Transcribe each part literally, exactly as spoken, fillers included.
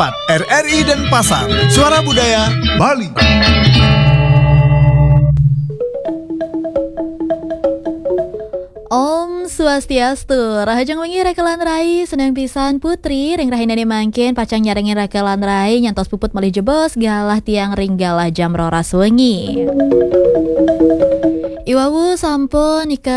R R I Denpasar, Suara Budaya Bali. Om Swastiastu, rahajeng wengi rekelan rai, seneng pisan Putri, ring rahinane mangkin pacang nyarengin rekelan rai, nyantos puput malih jebos galah tiang ring galah jam roras wengi. Iwawu sampun nika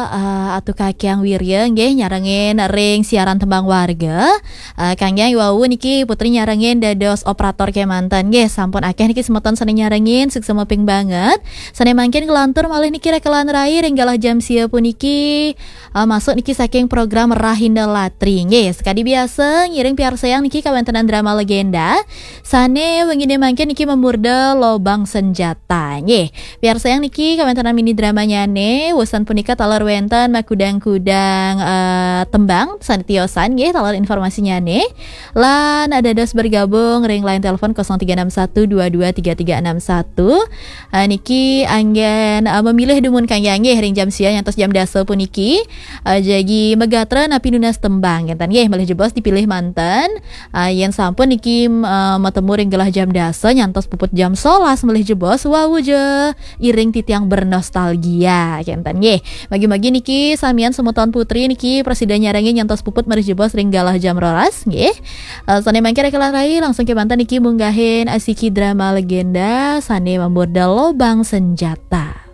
uh, atu kakiang wirya nggih nyarengin ring siaran tembang warga. Uh, kangge iwawu niki Putri nyarengin dados operator kemanten nggih, sampun akeh niki semeton sane nyarengin, suksma ping banget. Sane mangkin kelantur malih niki rekelan rai ring galah jam sia puniki, uh, masuk niki saking program Rahinda Latri nggih. Sekadi biasa ngiring piarsayang niki kawentenan drama legenda sane wengine mangkin niki memurda Lobang Senjata nggih. Piarsayang niki kawentenan mini dramanyane, wusan punika taler wenten makudang-kudang uh, tembang sane tiosan nggih, taler informasinyane. Lan ada dos bergabung ring line telepon kosong tiga enam satu dua dua tiga tiga enam satu. Uh, niki anggen uh, memilih dumun kangge nggih ring jam sia nyantos jam dasa puniki. Uh, jagi megatra napi nunas tembang ngenten nggih, malih jebos dipilih manten. Uh, yen sampun niki uh, matemu ring galah jam dasa nyantos puput jam solas malih jebos, wau ja iring titiang bernostalgia ngenten nggih. Magi-magi niki samian semeton Putri niki prasida nyarengin nyantos puput malih jebos ring galah jam roras nggih. Uh, sane mangkin rekelan rai langsung kemanten niki munggahin asiki drama legenda sane memurda Lobang Senjata.